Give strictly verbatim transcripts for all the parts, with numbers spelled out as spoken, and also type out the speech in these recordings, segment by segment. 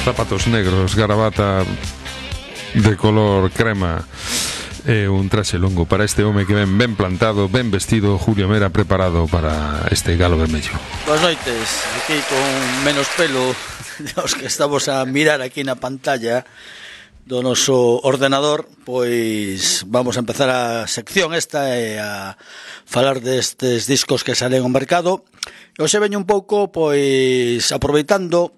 zapatos negros, gravata de color crema e un traxe longo para este home que ven ben plantado, ben vestido, Julio Mera, preparado para este galo vermello. Boas noites, aquí con menos pelo dos que estamos a mirar aquí na pantalla do noso ordenador, pois vamos a empezar a sección esta e a falar destes discos que salen ao mercado. E hoxe veño un pouco, pois, aproveitando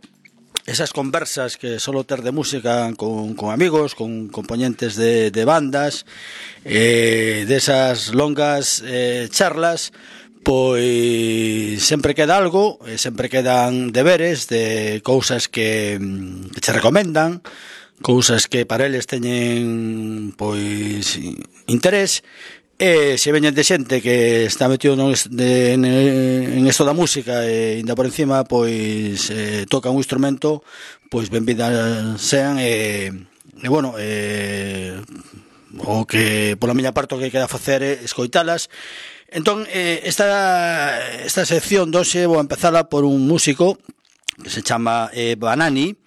esas conversas que solo ter de música con, con amigos, con componentes de, de bandas, eh, desas longas eh, charlas, pois sempre queda algo, eh, sempre quedan deberes de cousas que, que che recomendan, cousas que para eles teñen pois interés. E se veñen de xente que está metido no, de, en, en esto da música e ainda por encima pois eh, toca un instrumento, pois benvidas sean e, e bueno, eh, o que pola miña parte o que queda facer é escoitalas. Entón, eh, esta, esta sección doxe vou empezala por un músico que se chama eh, Banani.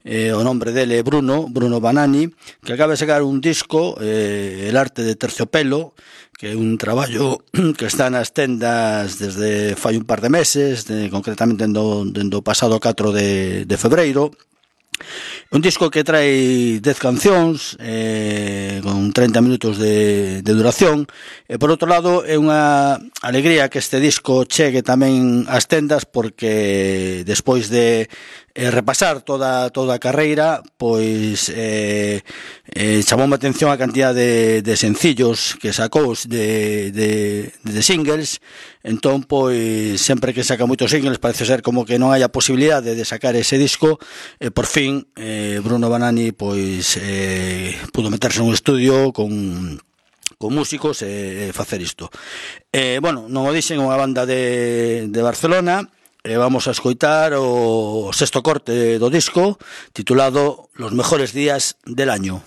Eh, o nombre dele é Bruno, Bruno Banani, que acaba de sacar un disco, eh, El arte de terciopelo, que é un traballo que está nas tendas desde fai un par de meses, de, concretamente dendo, dendo pasado catro de, de febreiro. Un disco que trae dez cancións eh, con treinta minutos de, de duración e por outro lado é unha alegría que este disco chegue tamén ás tendas porque despois de eh, repasar toda toda a carreira pois eh, eh, chamoume a atención a cantidad de, de sencillos que sacou de, de, de singles. Entón, pois, sempre que saca moitos singles parece ser como que non hai a posibilidade de sacar ese disco e por fin eh, Bruno Banani pois eh, pudo meterse nun estudio con con músicos e eh, facer isto. Eh, bueno, non o dixen, unha banda de, de Barcelona e vamos a escoitar o sexto corte do disco titulado Los mejores días del año.